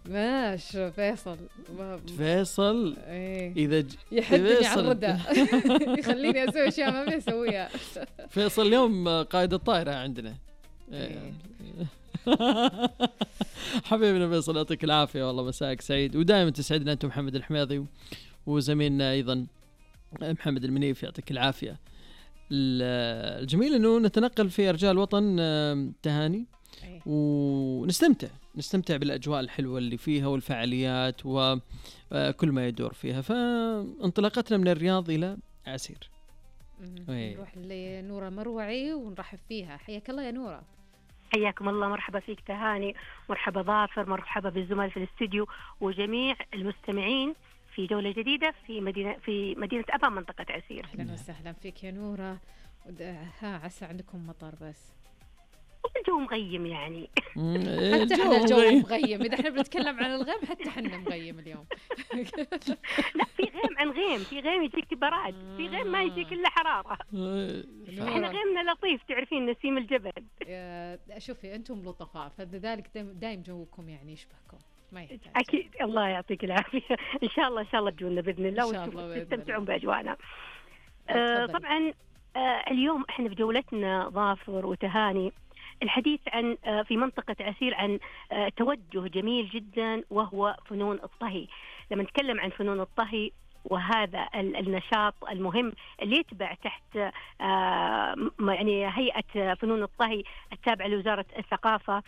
ماشي فيصل فيصل ايه إذا يحدني على الردى يخليني أسوي أشياء ما بدي أسويها. فيصل اليوم قائد الطائرة عندنا. إيه. حبيبنا فيصل يعطيك العافية والله، مساك سعيد ودائما تسعدنا أنتم محمد الحميضي وزميلنا أيضا محمد المنيف، يعطيك العافية. الجميل أنه نتنقل في أرجاء الوطن تهاني ونستمتع بالأجواء الحلوة اللي فيها والفعاليات وكل ما يدور فيها. فانطلاقتنا من الرياض إلى عسير نروح لنورة مروعي ونرحب فيها. حياك الله يا نورة. حياكم الله، مرحبا فيك تهاني، مرحبا ظافر، مرحبا بالزملاء في الاستديو وجميع المستمعين في جولة جديدة في مدينة أبا منطقة عسير. أهلا وسهلا فيك يا نورة. عسى عندكم مطر بس الجو مغيم يعني. حتى احنا الجو مغيم، إذا احنا بنتكلم عن الغيم حتى احنا مغيم اليوم. لا في غيم عن غيم، في غيم يجيك براد، في غيم ما يجيك إلا حرارة. احنا غيمنا لطيف، تعرفين نسيم الجبل. شوفي أنتم لطفاء فلذلك دايم جوكم يعني يشبهكم. أكيد الله يعطيك العافية. إن شاء الله تجونا بإذن الله وتستمتعون بأجواءنا. طبعا اليوم احنا في جولتنا ظافر وتهاني الحديث عن في منطقة عسير عن توجه جميل جدا وهو فنون الطهي. لما نتكلم عن فنون الطهي وهذا النشاط المهم اللي يتبع تحت يعني هيئة فنون الطهي التابعة لوزارة الثقافة،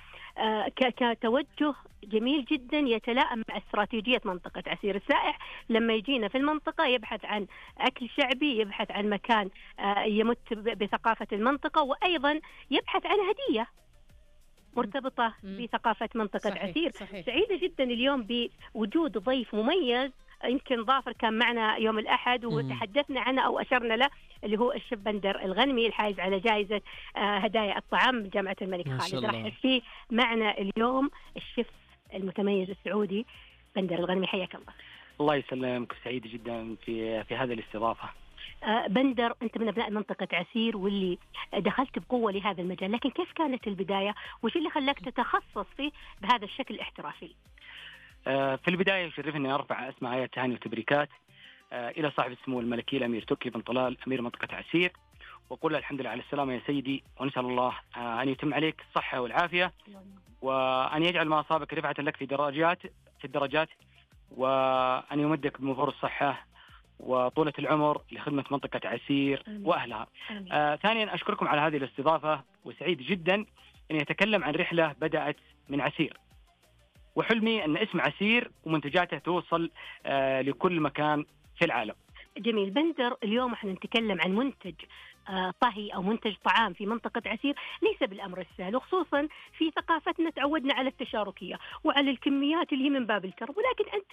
كتوجه جميل جدا يتلائم مع استراتيجية منطقة عسير. السائح لما يجينا في المنطقة يبحث عن أكل شعبي، يبحث عن مكان يمت بثقافة المنطقة، وأيضا يبحث عن هدية مرتبطة بثقافة منطقة عسير. سعيدة جدا اليوم بوجود ضيف مميز. يمكن ظافر كان معنا يوم الأحد وتحدثنا عنه أو أشرنا له، اللي هو الشيف بندر الغنمي الحائز على جائزة هدايا الطعام من جامعة الملك خالد. راح فيه معنا اليوم الشيف المتميز السعودي بندر الغنمي. حياك الله. الله يسلمك، سعيد جدا في هذه الاستضافة. بندر، أنت من أبناء منطقة عسير واللي دخلت بقوة لهذا المجال، لكن كيف كانت البداية وش اللي خلاك تتخصص فيه بهذا الشكل الاحترافي؟ في البداية يشرفني أن أرفع أسماء آيات تهاني وتبريكات إلى صاحب السمو الملكي الأمير تركي بن طلال أمير منطقة عسير، وقول الحمد لله على السلامة يا سيدي، ونسأل الله أن يتم عليك الصحة والعافية، وأن يجعل ما أصابك رفعة لك في الدرجات، وأن يمدك بمفور الصحة وطولة العمر لخدمة منطقة عسير وأهلها. ثانيا أشكركم على هذه الاستضافة، وسعيد جدا أن يتكلم عن رحلة بدأت من عسير، وحلمي أن اسم عسير ومنتجاته توصل لكل مكان في العالم. جميل. بندر، اليوم احنا نتكلم عن منتج طهي أو منتج طعام في منطقة عسير، ليس بالأمر السهل، وخصوصا في ثقافتنا تعودنا على التشاركية وعلى الكميات اللي هي من باب الكرم، ولكن أنت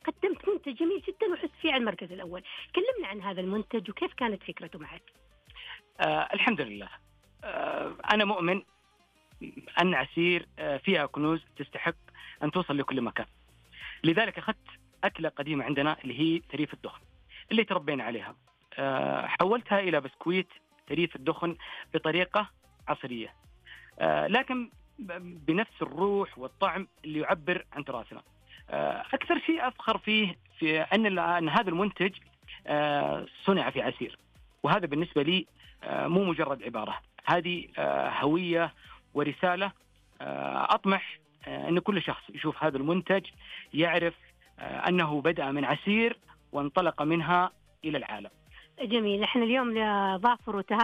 قدمت منتج جميل جدا وحس فيه على المركز الأول. كلمنا عن هذا المنتج وكيف كانت فكرته معك. الحمد لله. أنا مؤمن أن عسير فيها كنوز تستحق أن توصل لكل مكان، لذلك أخذت أكلة قديمة عندنا اللي هي تريف الدخن اللي تربينا عليها، حولتها إلى بسكويت تريف الدخن بطريقة عصرية، لكن بنفس الروح والطعم اللي يعبر عن تراثنا. أكثر شيء أفخر فيه في أن هذا المنتج صنع في عسير، وهذا بالنسبة لي مو مجرد عبارة، هذه هوية ورسالة. أطمح أن كل شخص يشوف هذا المنتج يعرف أنه بدأ من عسير وانطلق منها إلى العالم. جميل. نحن اليوم ظافر وتهاني